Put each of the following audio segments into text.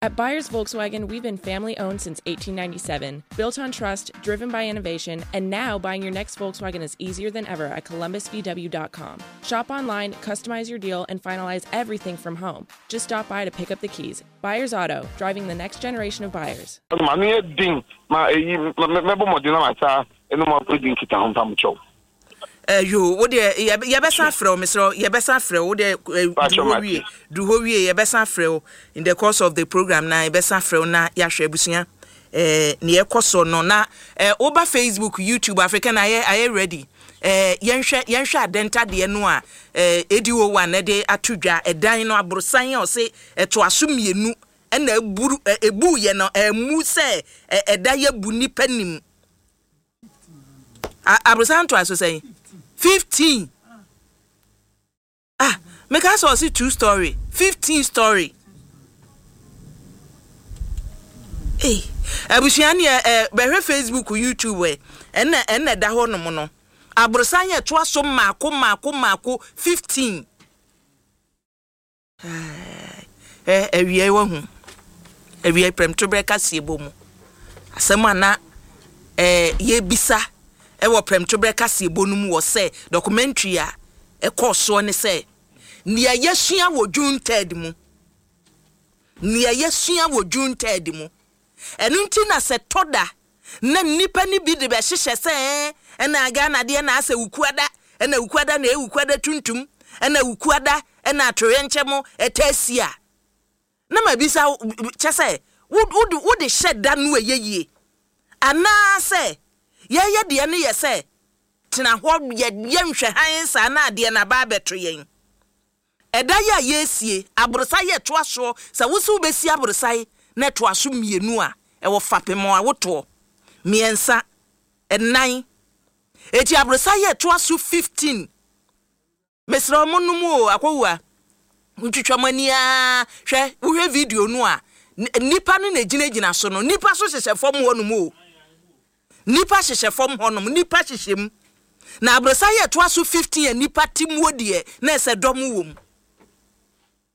At Buyers Volkswagen, we've been family owned since 1897, built on trust, driven by innovation, and now buying your next Volkswagen is easier than ever at columbusvw.com. Shop online, customize your deal, and finalize everything from home. Just stop by to pick up the keys. Buyers Auto, driving the next generation of buyers. M'ano yɛ den ma eyi, mɛbɔ mmɔden na masan ne mo adi nkitaho mpamokyɛw. Eh, yoo, wo deɛ yɛbɛsan afrɛ wo, mesrɛ wo, yɛbɛsan afrɛ wo, wo deɛ eh, duru hɔ wie, duru hɔ wie, yɛbɛsan afrɛ wo in the course of the program na yɛbɛsan afrɛ wo na yɛahwɛ abusua eh, nea ɛkɔ so no na eh, woba Facebook, YouTube, African ayɛ ayɛ ready eh, yɛnhwɛ yɛnhwɛ adɛnta deɛ no a eh, ADO1 ɛde ato dwa ɛdan no aborosan a ɔse ɛtoa so mmienu ɛna eburu ebu yɛ no ɛmu sɛ ɛda yɛ bu nipa nim. Aborosan ntoaso sɛn? 15. Ah, meka sɛ ɔse two story, 15 story. Hey, abusua ne ɛ bɛhwɛ Facebook, YouTube ɛ, ɛnna ɛnna ɛda hɔ nom no. Aborosan yɛ toa so mmaako mmaako mmaako 15. Ɛ, awiei wahu. Awiei prɛmtoberɛ kaseɛbɔ mu. Asɛm a na ɛ, yɛrebisa wɔ prɛmtoberɛ kaseɛbɔ no mu wɔ sɛ documentary a ɛkɔɔ soɔ ne sɛ, nea yɛasua wɔ June third mu, nea yɛasua wɔ June third mu. Ɛno nti na sɛ tɔ da na nnipa no bi de bɛhyehyɛ sɛ ɛɛ ɛna Ghana deɛ na asɛ Wukuada, ɛna Wukuada na ɛyɛ Wukuada tuntum, ɛna Wukuada ɛna atoyerɛnkyɛm ɛtaa si a, na mabisa wo, kyɛ sɛ wo wode wode hyɛ da no ɛyɛ yie anaa sɛ yɛyɛ deɛ no yɛ sɛ tena hɔ yɛ yɛnhwɛ hann saa na adeɛ no aba abɛto yɛn. Ɛda yi a yɛresie aborosan yi a ɛtoa soɔ, sɛ wo se wobɛsi aborosan na ɛtoa so mmienu a, ɛwɔ fapem a wotoɔ, mmiɛnsa, nnan. Enti aborosan yi a ɛtoa so 15, mesrɛ wo monnom o, akɔwua, montwitwa mo ani ara, hwɛ, wohwɛ video no a, nnipa no na ɛgyinagyina so no, nnipa nso hyehyɛ fam hɔnom o. Nnipa hyehyɛ fam hɔnom, nnipa hyehyɛ mu. Na aborosan yi a ɛtoa so 15 a nnipa te muo deɛ, na ɛsɛ dɔm wɔ mu.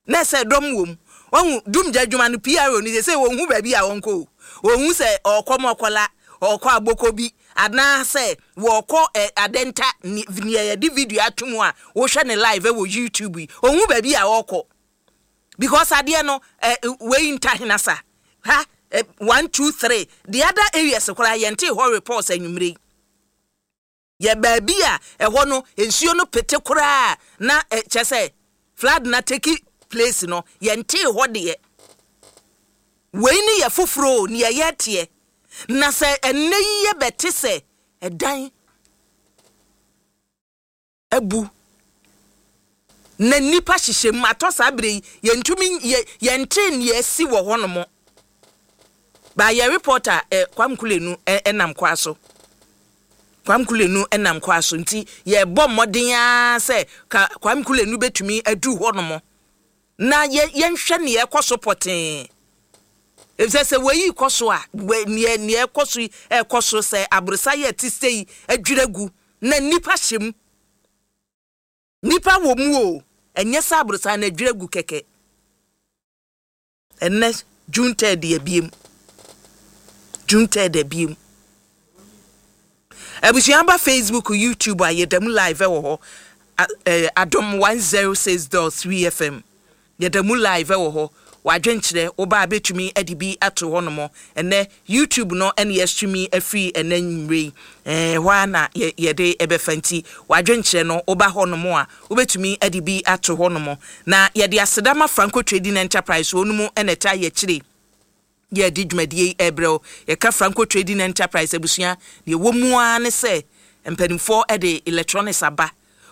Na ɛsɛ dɔm wɔ mu. Wahu, dumgya adwuma no, PRO no, seesei wɔnhu baabi a wɔnkɔ o. Wɔnhu sɛ ɔrekɔ Mɔkɔla, ɔrekɔ Abokobi, anaasɛ wɔrekɔ ɛ, Adenta, ne, nea yɛde video ato mu a wohwɛ no live wɔ YouTube yi. Wɔnhu baabi a ɔrekɔ. Because adeɛ no eh, wei ntahenasa ha eh, one two three the other areas koraa yɛntee hɔ reports anwummere yi. Yɛ baabi a ɛhɔ no nsuo no pete koraa na eh, kyɛ sɛ flood na take place no yɛntee hɔ deɛ. Wei ne yɛ foforɔ o, neɛ yɛteɛ. Na sɛ ɛnnɛ yi yɛbɛte sɛ ɛdan abu na nnipa hyehyɛ mu atɔ saa berɛ yi yɛntumi yɛ yɛntee nea asi wɔ hɔnom ba yɛ reporter eh, Kwam Kulenu eh, nam kwa so Kwam Kulenu nam kwa so nti yɛbɔ mmɔden ara sɛ ka Kwam Kulenu bɛtumi aduru hɔnom na yɛ yɛnhwɛ nea ɛkɔ so pɔtee efisɛ sɛ wei kɔ so a nea nea ɛkɔ so yi ɛkɔ so sɛ aborosa yɛ te sɛ yi adwira gu na nnipa hyɛ mu. Nnipa wɔ mu o, ɛnyɛ sɛ aborosan no adwiri agu kɛkɛ. Ɛnnɛ June third abiem. June third abiem. Abusua ba Facebook, YouTube a yɛda mu live wɔ hɔ. Adom 106.3 FM. Yɛda mu live wɔ hɔ. W'adwenkyerɛ, wo ba a bɛtumi de bi ato hɔ nom. Ɛnnɛ YouTube no na yɛstreami afiri ɛnnɛ anwummerɛ yi. Ɛɛ, ɛhɔ ara na yɛ, yɛde bɛfa nti w'adwenkyerɛ no, woba hɔ nom a, wobɛtumi de bi ato hɔ nom. Na yɛde aseda ma Franco Trading Enterprise, wɔn mu na ɛtaa yɛ akyire. Yɛde dwumadie yi rebrɛ wo. Yɛka Franco Trading Enterprise abusua, deɛ ɛwɔ mu ara ne sɛ mpanimfoɔ de electronics aba,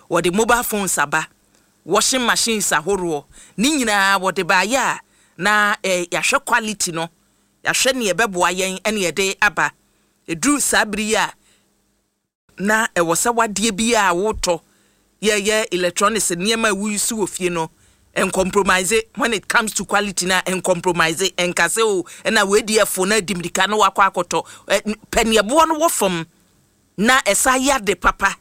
wɔde mobile phones aba, washing machines ahoroɔ, ne nyinaa wɔde baeɛ a na yɛahwɛ quality no, yɛahwɛ deɛ ɛbɛboa yɛn na yɛde aba. Ɛduru saa bere yi a, na ɛwɔ sɛ w'adeɛ biara a wotɔ, yɛyɛ electronics nneɛma a wouse wɔ fie no, ɛncompromise when it comes to quality no a, ɛncompromise, ɛnka sɛ o ɛna wei deɛ fo na adi mirika na wakɔ akɔtɔ, pɛ neɛ boɔ no wɔ fam na ɛsa yɛ ade papa.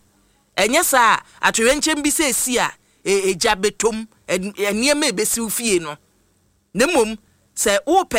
Ɛnyɛ saa a, atoyerɛnkyɛm bi sɛ esi a, egya bɛtɔ mu, nneɛma a ɛbɛsi wo fie no. Na mmom sɛ wopɛ.